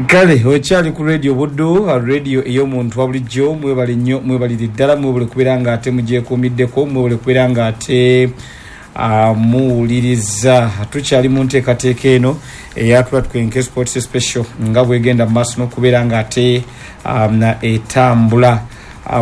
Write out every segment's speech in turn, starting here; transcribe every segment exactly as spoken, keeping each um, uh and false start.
Kale okyali ku Radio Buddu, radio ey'omuntu wa bulijjo. Mwebale nnyo, mwebalire ddala, mwebale kubeera nga ate mugyekuumiddeko, mwebale kubeera nga ate uh, muwuliriza. Tukyali mu nteekateeka eno eyatula Tukenke Sports Special nga bwegenda mu maaso n'okubeera nga ate um, etambula.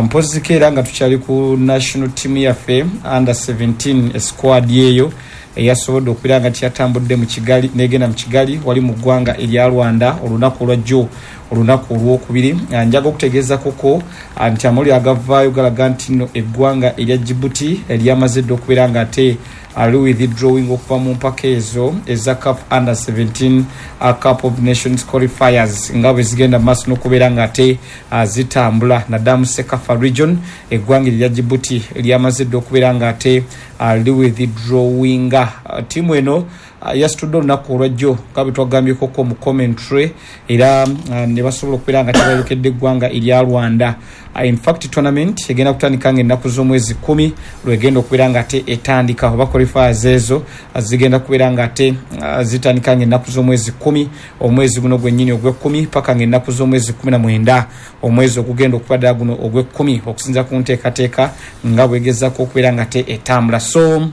Mpoziko era nga tukyali ku national team yaffe under seventeen squad eyo eyasobodde okubeera nga kyatambudde mu Kigali, negenda mu Kigali wali mu ggwanga erya Rwanda olunaku olwajjo, olunaku olwokubiri. Njaga okutegeeza koko nti amawulire agavaayo galaga nti nno eggwanga erya Djibouti eryamaze dda okubeera nga ate ali withdrawing okuva mu mpaka ezo eza CAF under seventeen Cup of Nations qualifiers nga bwe zigenda mu maaso n'okubeera nga ate zitambula naddala mu CECAFA region. Eggwanga erya Djibouti lyamaze dda okubeera nga ate ali withdrawinga. Ttiimu eno yasitudde olunaku olwajjo nga bwe twagambyekoko mu commentary, era ne basobola okubeera nga tebayolekedde eggwanga erya Rwanda. In fact, tournament egenda kutandika nga ennaku z'omwezi kumi lwegenda okubeera nga ate etandika, oba qualifiers ezo zigenda kubeera nga ate zitandika nga ennaku z'omwezi kumi omwezi guno gwennyini ogw'ekkumi paka nga ennaku z'omwezi kumi na mwenda omwezi ogugenda okuba ddala guno ogw'ekkumi, okusinziira ku nteekateeka nga bwegezaako okubeera nga ate etambula. So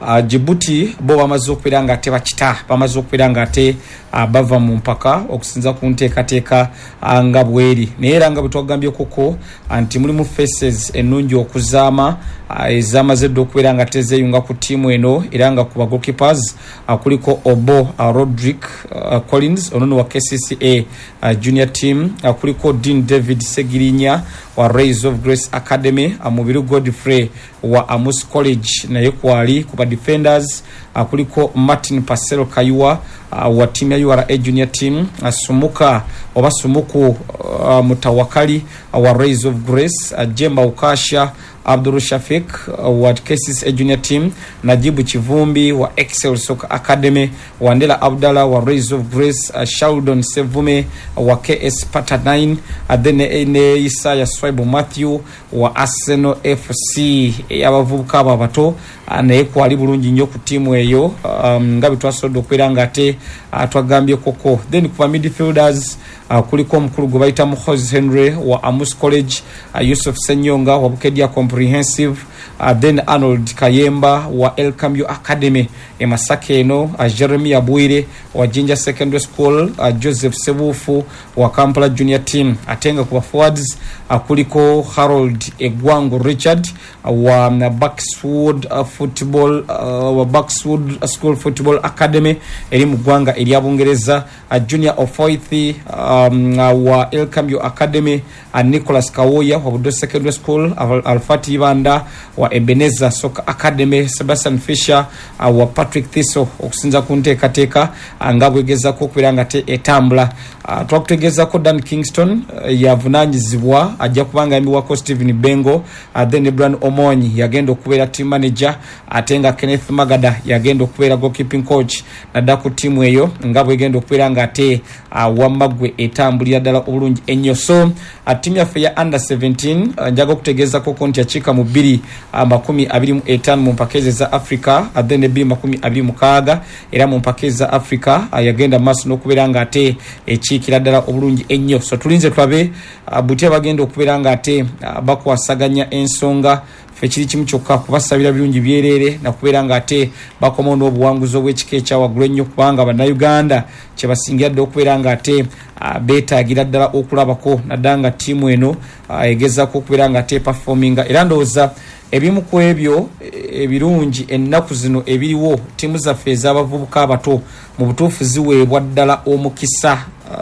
Uh, Djibouti bo bamaze okubeera nga ate bakita, bamaze okubeera nga ate uh, bava mu mpaka okusinza ku nteekateeka uh, nga bweri. Naye era nga bwe twagambye koko nti mulimu faces ennungi okuzaama uh, ezamaze dda okubeera nga tezeeyunga ku ttiimu eno, era nga ku ba goalkeepers uh, kuliko Obo uh, Rodrick uh, Collins onono wa K C C A uh, junior team, uh, kuliko Dean David Segirinya wa Rays of Grace Academy, uh, Mubiru Godfrey wa Amus College naye kwali. Ku ba defenders uh, kuliko Martin Pasero Kayua uh, wa team ya U R A junior team, uh, Sumuka oba Sumuku uh, Mutawakali uh, wa Rays of Grace, uh, Jemba Ukasha Abdul Shafik uh, wa K C C A junior team, Najibu Chivumbi wa Excel Soccer Academy, Wandela Abdallah wa Rays of Grace, uh, Sheldon Sevume uh, wa K S Pata nine, uh, then ne Isaya Swaibu Matthew wa Arsenal F C. Abavubuka abo abato uh, naye kwali bulungi nnyo ku ttiimu eyo um, nga bwe twasobodde okubeera nga ate uh, twagambye koko. Then ku ba midfielders uh, kuliko omukulu gwe bayita Muhozi Henry wa Amus College, uh, Yusuf Senyonga wa Bukedia Comprehensive, uh, then Arnold Kayemba wa El Cambio Academy e Masaka eno, uh, Jeremiah Bwire wa Jinja Secondary School, uh, Joseph Sebufu wa Kampala Junior Team. Ate nga ku ba forwards uh, kuliko Harold Egwango Richard uh, wa uh, Buckswood uh, Football uh, wa Buckswood School Football Academy eri mu ggwanga erya Bungereza, uh, Junior Ofoithi um, uh, wa El Cambio Academy, uh, Nicholas Kawoya wa Budo Secondary School, Al Alfati Ibanda wa Ebenezer Soccer Academy, Sebastian Fisher uh, wa Patrick Thiso, okusinza ku nteekateeka uh, nga bwegezaako okubeera nga te etambula. Uh, twakutegeezako Dan Kingston uh, yavunaanyizibwa, ajja kubanga ayambibwako Stephen Bengo, uh, then Brian Omonyi yagenda okubeera team manager, ate nga Kenneth Magada yagenda okubeera goalkeeping coach naddala ku ttiimu eyo nga bwegenda okubeera nga ate uh, wamma ggwe etambulira ddala obulungi ennyo. So uh, ttiimu yaffe ya under seventeen uh, njaga okutegeezako nti yakiika mu bbiri uh, makumi abiri mu etaano mu mpaka ezo eza Africa, uh, then ebbiri makumi abiri mukaaga era mu mpaka eza Africa uh, yagenda maaso n'okubeera nga ate ekiikira ddala obulungi ennyo. So tulinze tulabe uh, butya bagenda okubeera nga ate uh, bakwasaganya ensonga. Ffe kiri kimu kyokka, kubasabira birungi byereere nakubeera nga ate bakomawo n'obuwanguzi obw'ekika ekyawaggulu ennyo, kubanga Bannayuganda kye basingira ddala okubeera nga ate uh, beetaagira ddala okulabako naddala nga ttiimu eno uh, egezaako okubeera nga ate performinga. Era ndowooza ebimu ku ebyo ebirungi ennaku zino ebiriwo, ttiimu zaffe ez'abavubuka abato mu butuufu ziweebwa ddala omukisa.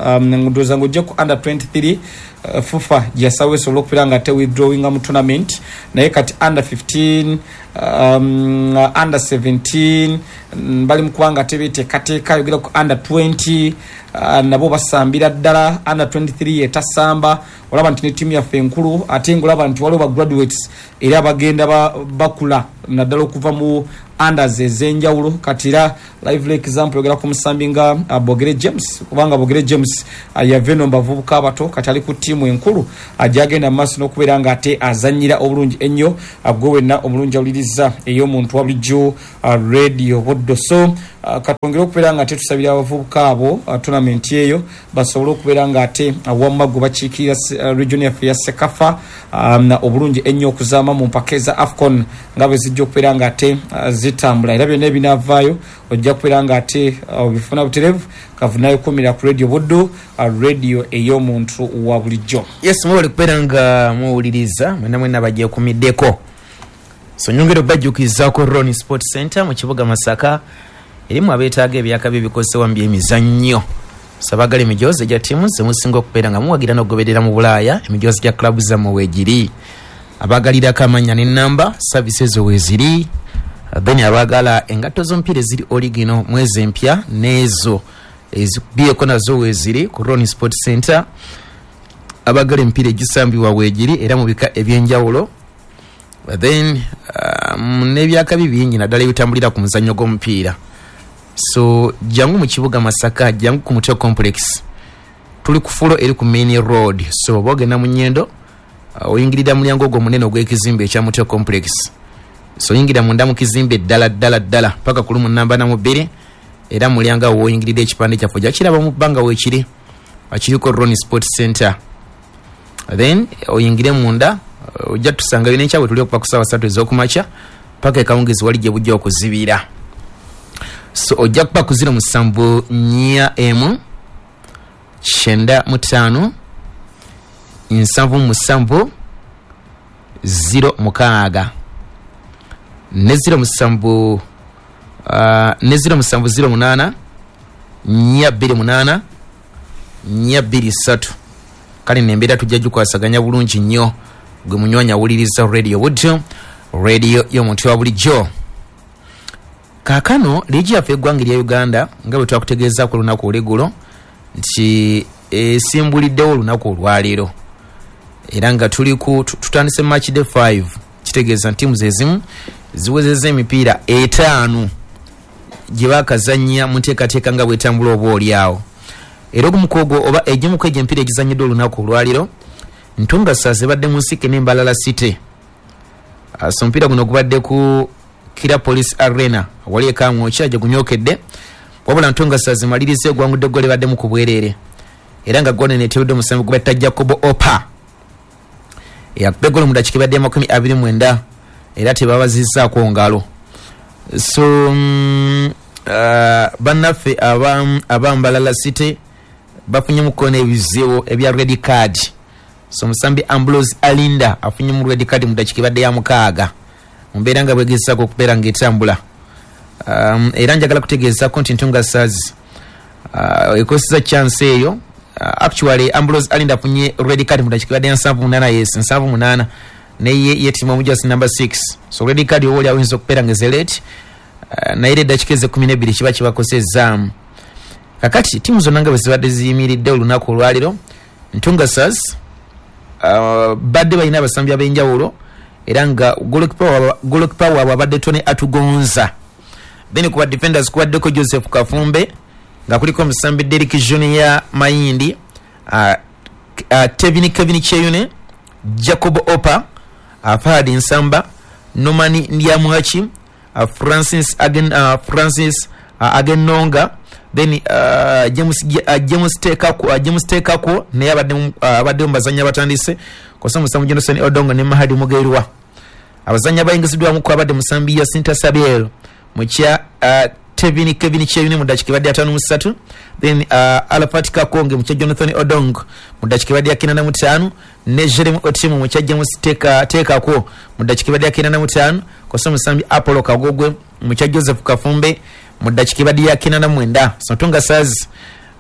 um, ndowooza ng'ojja ku under twenty-three uh, FUFA gyasawo esobola okubeera nga ate withdrawinga mu tournament, naye kati under fifteen, um, under seventeen bali mu kubanga ate beteekateeka. Yogera ku under twenty uh, nabo basambira ddala, under twenty-three etasamba. Olaba nti ne ttiimu yaffe enkulu, ate ng'olaba nti waliwo ba graduates era bagenda bakula naddala okuva mu unders ez'enjawulo. Kati era live example yogera ku musambi nga uh, Bogere James, kubanga Bogere James uh, yava eno mu bavubuka abato, kati ali ku ttiimu enkulu uh, gyagenda mu maaso n'okubeera nga ate azannyira obulungi ennyo. uh, gwe wenna omulungi awuliriza. gy'owuliriza ey'omuntu wa bulijjo, uh, Radio Buddo. So uh, katwongere okubeera nga ate tusabira abavubuka abo uh, tournament eyo basobole okubeera nga ate uh, wamma gwe bakiikirira uh, region yaffe ya Sekafa um, obulungi ennyo okuzaama mu mpaka eza AFCON nga bwe zijja okubeera nga ate uh, zitambula. Era byonna ebinaavaayo ojja kubeera nga ate obifuna uh, butereevu kavunayo kumira ku Radio Buddo, uh, radio ey'omuntu wa bulijjo. Yes, mwebale kubeera nga muwuliriza mwena mwena bagyekumiddeko. So nyongera obajjukizaako Ron Sport Center mu kibuga Masaka erimu abeetaaga ebyakabi ebikozesebwa mu byemizannyo. Sabagala emijoozi egya ttiimu zemusinga okubeera nga muwagira n'okugoberera mu Bulaaya, emijoozi gya club zammwe weegiri. Abaagalirako amannya n'ennamba, service ezo weeziri. Then abaagala engatto z'omupiira eziri original mwezi empya n'ezo ezikubyeko nazo weeziri ku Ron Sport Center. Abaagala emipiira egisambibwa weegiri era mu bika ebyenjawulo. Then um, n'ebyakabi bingi naddala ebitambulira ku muzannyo gw'omupiira. So jangu mu kibuga Masaka, jangu ku Mutwe Complex, tuli ku fulo eri ku main road. So oba ogenda mu Nyendo, uh, oyingirira mulyango ogwo omunene ogw'ekizimbe ekya Mutwe Complex. So oyingira munda mu kizimbe ddala ddala ddala paka ku lumu namba na mu bbiri, era mulyango awo woyingirira ekipande kyaffe ojja kiraba mu bbanga weekiri akiriko Ron Sport Center. Then oyingire munda ojja tusangayo n'ekyabwe tuli okuva ku ssaawa ssatu ez'okumakya paka ekawungezi wali gye bujja okuzibira. So ojja kuba ku ziro musanvu nnya emu kyenda mu ttaano nsanvu musanvu ziro mukaaga ne ziro musanvu uh, ne ziro musanvu ziro munaana nnya bbiri munaana nnya bbiri ssatu. Kale nembeera tujja gikwasaganya bulungi nnyo gwe munywanyi awuliriza Radio Buddo, radio y'omuntu wa bulijjo. Kaakano liigi yaffe eggwanga erya Uganda nga bwe twakutegeezaako olunaku olw'eggulo nti esimbuliddewo olunaku olwaleero, era nga tuli ku tutandise match day five, kitegeeza nti ttiimu ezimu ziwezezza emipiira etaano gye baakazannya mu nteekateeka nga bw'etambula oba oli awo. Era ogumu ku ogwo oba egimu ku egyo emipiira egizannyiddwa olunaku olwaleero, Ntunga Stars ebadde mu nsike n'Embalala City. So omupiira guno gubadde ku Kira Police Arena awali e Kamwokya gye gunyookedde, wabula Ntunga Stars emaliriza egwangudde eggolo ebaddemu ku bwereere, era nga ggoolo eno eteebeddwa omusambi gwe bayita Jacob Opa eyakuba eggolo mu ddakiika ebadde amakumi abiri mu mwenda, era tebabazizzaako ngalo. So mm, uh, bannaffe aba Mbalala City bafunyemuko n'ebizibu ebya red card. So omusambi Ambrose Alinda afunyemu red card mu ddakiika ebadde ya mukaaga mu mbeera nga bwegezaako okubeera ng'etambula. Um, era njagala kutegeezaako nti Ntunga Stars uh, ekozesa chance eyo. Uh, actually Ambrose Alinda afunye red card mu ddakiika ebadde ya nsanvu munaana, yes nsanvu munaana, naye yetima omujasi number six. So red card oba oli awinza okubeera ng'ezelete, uh, naye era eddakiika ez'ekkumi n'ebbiri kiba kibakosezzaamu. Kakati ttiimu zonna nga bwe zibadde ziyimiridde olunaku olwaleero, Ntunga Stars uh, badde balina abasambi ab'enjawulo, era nga goalkeeper waabwe abadde Tony Atugonza. Then ku ba defenders kubaddeko Joseph Kafumbe nga kuliko omusambi Derrick Junior Mayindi, uh, uh, Tevin Kevin Cheyune, Jacob Opa, uh, Fahad Nsamba, Norman Ndyamuhaki, uh, Francis Agen, uh, Francis uh, Agenonga, then uh, James uh, James Tekako, uh, James Tekako naye abadde uh, abadde mu bazannyi abatandise kosa musambi Johnson Odongo ne Mahadi Mugerwa. Abazannyi abayingiziddwamu ku abadde musambi Yasinta Sabiel mu kya uh, Tevin Kevin Cheyune mu ddakiika ebadde ataano mu ssatu, then uh, Alafat Kakonge mu kya Jonathan Odong mu ddakiika ebadde ya kinaana mu ttaano, ne Jeremy Otimu mu kya James Teka Tekako mu ddakiika ebadde ya kinaana mu ttaano, kosa musambi Apollo Kagogwe mu kya Joseph Kafumbe mu ddakiika ebadde ya kinaana mu mwenda. So Ntunga Stars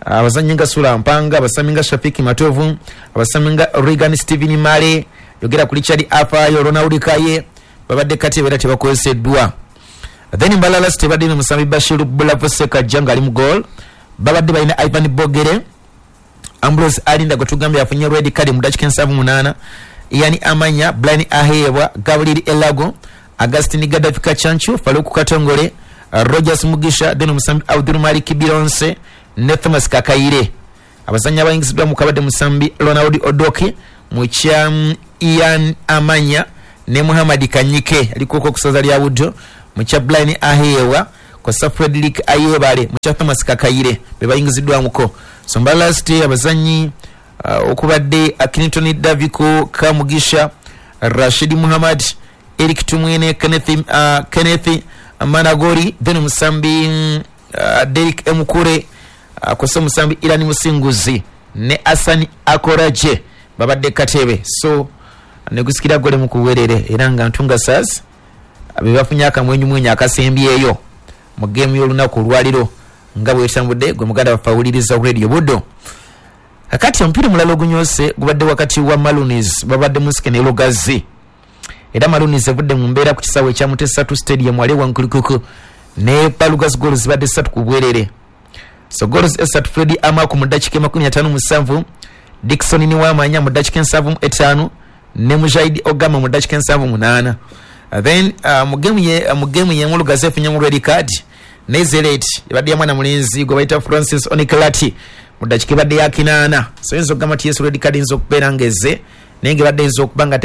abazannyi nga Sula Mpanga, abasambi nga Shafiki Matovu, abasambi nga Regan Steven Male, yogera ku Richard Afayo, Ronald Kaye babadde kati era tebakozeseddwa. Then Mbalala City badde n'omusambi Bashir Bulavo Sekajja ng'ali mu goal, babadde balina Ivan Bogere, Ambrose Alinda gwe tugambye afunye red card mu ddakiika ensanvu munaana, Ian Amanya, Brian Aheebwa, Gabriel Elago, Augustine Gaddafi Kachanchu, Faluku Katongole, Rogers Mugisha, then omusambi Abdul Malik Bironse ne Thomas Kakaire. Abazannyi abayingiziddwa mu kabadde musambi Ronald Odoki mu kya Ian Amanya ne Muhammad Kanyike aliko ku ssaza lya Buddo mu kya Blind Ahewa kwasa Frederick Ayebale mu kya Thomas Kakayire be bayingiziddwamuko. So Mbarara City abazannyi uh, okubadde Clinton Daviko Kamugisha, Rashid Muhammad, Eric Tumwine, Kenneth, uh, Kenneth Managori, then Musambi uh, Derek Emukure, uh, kwasa Musambi Irani Musinguzi ne Asani Akoraje babadde Katebe. So negusikira gole mukuwerere era nga Ntunga Stars abebafunye akamwenyu mwenyu akasembyeyo mu game y'olunaku olwaliro nga bwetambudde gwe muganda waffe awuliriza Radio Buddo. Kakati omupiira omulala ogunyose gubadde wakati wa Maroons babadde Musike ne Lugazi, era Maroons evudde mu mbeera ku kisaawe ekya Mutesa two Stadium wali Wankulukuku ne Lugazi goals zibadde ssatu ku bwerere. So goals esatu Freddy Amaku mu ddakiika makumi ataano mu musanvu, Dickson Niwamanya mu ddakiika ensanvu mu etaano ne Mujahid Ogama mu ddakiika ensanvu munaana. Then uh, mu game ye uh, mu game ye Lugazi efunye mu red card ne Zelet ebadde ya mwana mulenzi gwe bayita Francis Oniklati mu ddakiika ebadde ya kinaana. So yinza okugamba nti yesu red card eyinza okubeera ng'ezze naye ng'ebadde eyinza okuba nga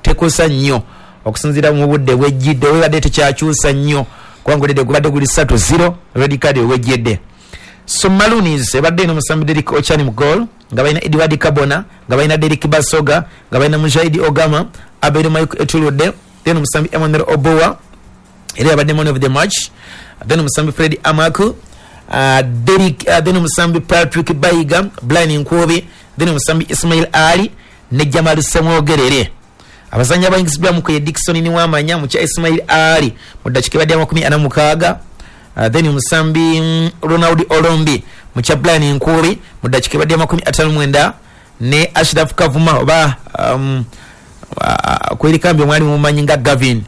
tekosa nnyo okusinziira mu budde bwejjidde, webadde tekyakyusa nnyo kubanga olidde gubadde guli ssatu zero red card wejjidde. So Maroons ebadde eno Musambi Derek Ochani mu goal nga balina Edward Kabona, nga balina Derek Basoga, nga balina Mujahid Ogama, Abel Mike Etuludde, then Musambi Emmanuel Obowa era yabadde man of the match, then Musambi Fred Amaku, uh, Derek, uh, then Musambi Patrick Bayiga, Brian Nkubi, then Musambi Ismail Ali ne Jamal Semwogerere. Abazannyi abayingizibwamu ye Dickson Niwamanya mu kya Ismail Ali mu ddakiika ebadde amakumi ana mukaaga, uh, then Musambi mm, Ronald Olombi mu kya Brian Nkubi mu ddakiika ebadde amakumi ataano mwenda ne Ashraf Kavuma oba um, uh, kwerikambi omwali mumanyi nga Gavin,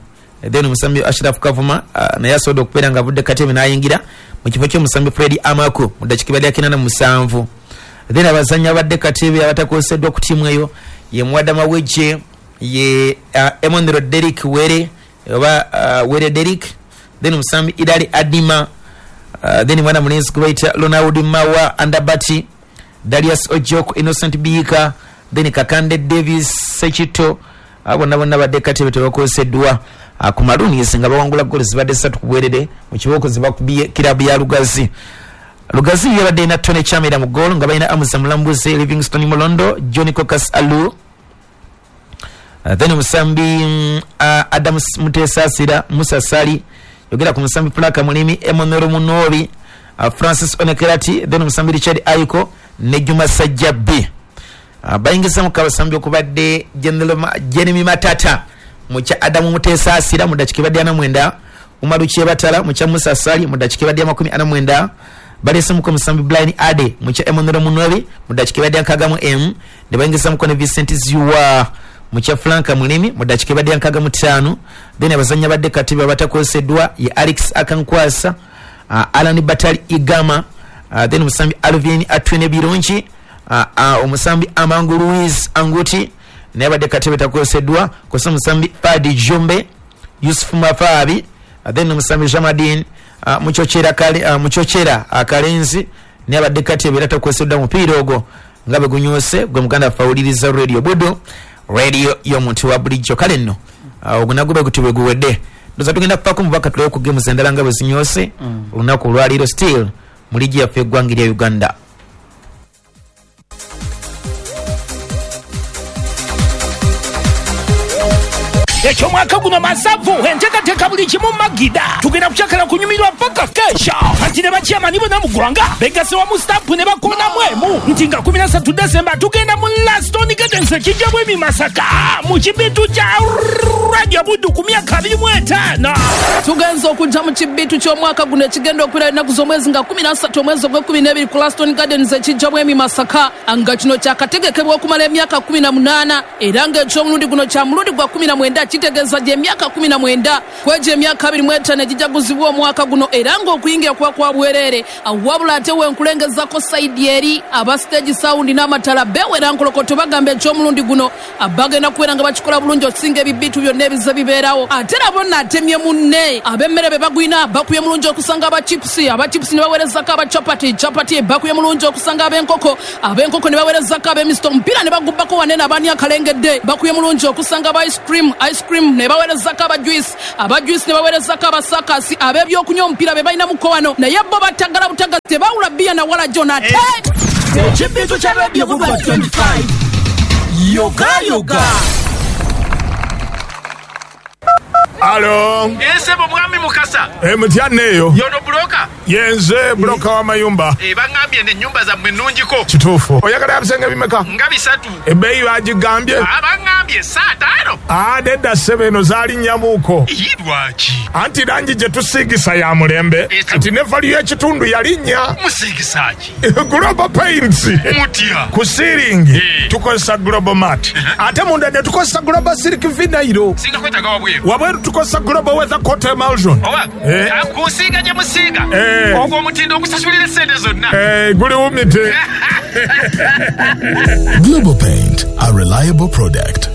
then Musambi Ashraf Kavuma uh, naye asobodde okubeera nga avudde Katebe n'ayingira mu kifo ky'omusambi Fred Amaku mu ddakiika ebadde kinaana mu musanvu. Then abazannyi abadde Katebe abatakoseddwa ku ttiimu eyo ye Muwada Maweje, ye uh, Emmanuel Derek Were oba uh, Were Derek, then Musambi Idali Adima, uh, then mwana mulenzi gwe bayita Ronald Mawa Andabati, Darius Ojok, Innocent Biika, then Kakande Davis Sekito, abo bonna bonna badde Katebe tebakoseddwa ku Maroons nga bawangula goals zibadde ssatu ku bwerere mu kibooko zibakubye kirabu ya Lugazi. Lugazi yabadde na Tony Chamera mu goal nga balina Amusa Mulambuzi, Livingstone Mulondo, Johnny Kokas Alu, Uh, then Musambi uh, Adam Mutesasira, Musa Sali, yogera ku Musambi Plaka Mulimi, Emmanuel Munobi, uh, Francis Onekerati, then Musambi Richard Aiko ne Juma Sajjabi. Uh, bayingiza mu kabasambi okubadde Jeremy Matata mu kya Adam Mutesasira mu ddakiika ebadde ana mwenda, Umaru Kyebatala mu kya Musa Sali mu ddakiika ebadde amakumi ana mwenda, balesemuko Musambi Brian Ade mu kya Emmanuel Munobi mu ddakiika ebadde nkaaga mu emu, ne bayingizamuko ne Vincent Ziwa mu kya Franka Mulimi mu ddakiika ebadde nkaaga mu ttaano. Then abazannyi abadde Katebe abatakoseddwa ye Alex Akankwasa, uh, Alan Batali Igama, uh, then Musambi Alvin Atwine Birungi, uh, uh, Omusambi Amangu Louis Anguti naye abadde Katebe takoseddwa, kosa Musambi Fadi Jumbe, Yusuf Mafabi, uh, then Musambi Jamadin uh, Muchochera Kale, uh, Muchochera uh, Kalenzi naye abadde Katebe era takoseddwa mupiira ogwo nga bwe gunyose gwe muganda waffe awuliriza Radio Buddo, radio y'omuntu wa bulijjo. Kale nno ogwo nagwo guti bwe guwedde, ndoza tugenda kufaako mubaka tulewo ku games endala nga bwe zinyose olunaku olwaleero still mu liigi yaffe eggwanga erya Uganda. Ekyomwaka guno masavu enteekateeka buli kimu magida tugenda kukyakala kunyumirwa paka kesha anti ne bakyamani bonna mu ggwanga begasse wamu stampu ne bakoonamu emu nti nga kumi na ssatu Desemba tugenda mu Laston Gardens ekijjamu emi Masaka mu kibitu kya Radio Buddu ku myaka abiri mu etaano. Tugenza okujja mu kibitu ky'omwaka guno ekigenda okubeera ennaku z'omwezi nga kumi na ssatu omwezi ogw'ekkumi n'ebiri ku Laston Gardens ekijjamu emi Masaka nga kino kyakategekebwa okumala emyaka kumi na munaana era ng'ekyomulundi guno kya mulundi gwa kumi na mwenda kitegeeza gy'emyaka kumi na mwenda kwegyo emyaka abiri mu etaano egijaguzibwa omwaka guno era ng'okuyingira kuba kwa bwereere. Wabula ate wenkulengezako sayidi eri aba stage sound n'amatala beewera nkolokoto bagamba ekyomulundi guno bagenda kubeera nga bakikola bulungi okusinga ebibitu byonna ebize bibeerawo. Ate nabo nno atemye munne ab'emmere be bagwina bakubye mulungi okusanga aba chipusi, aba chipusi ne baweerezako aba chapati, chapati bakubye mulungi okusanga ab'enkoko, ab'enkoko ne baweerezako ab'emisito, omupiira ne bagubbako wanene abaani akalengedde bakubye mulungi okusanga aba ice cream, ice ice cream ne baweerezako aba juice, aba juice ne baweerezako abasakasi, ab'ebyokunywa omupiira be balinamuko wano, naye bo batagala butaga tebawula bbiya na wala jona ate Ekibintu kya Radio Buddu twenty-five. Yoga yoga. Alo. Ese mwami Mukasa. Eh mutya neyo. Yono broker. Yenze broker wa mayumba. Eh bangambye ne nyumba za mwe nnungiko. Kituufu. Oyagala ebisenge bimeka? Nga bisatu. Ebbeeyi bagigambye. Ah bangambye saa tano. Ah nedda ssebe eno zaali nnyamuuko. Lwaki? Anti langi gye tusiigisa ya mulembe. Kati ne value y'ekitundu yalinnya. Musiigisa ki? Global Paints. Mutya. Ku siiringi tukozesa Global Mat. Ate munda ne tukozesa Global Silk Vinyl. Singa kwetaaga wabweru. Wabweru tukozesa Global Weather Coat Emulsion. Oba kusiiga gye musiiga. Ogwo omutindo okusasulira essente zonna. Guli wumite. Global Paint, a reliable product.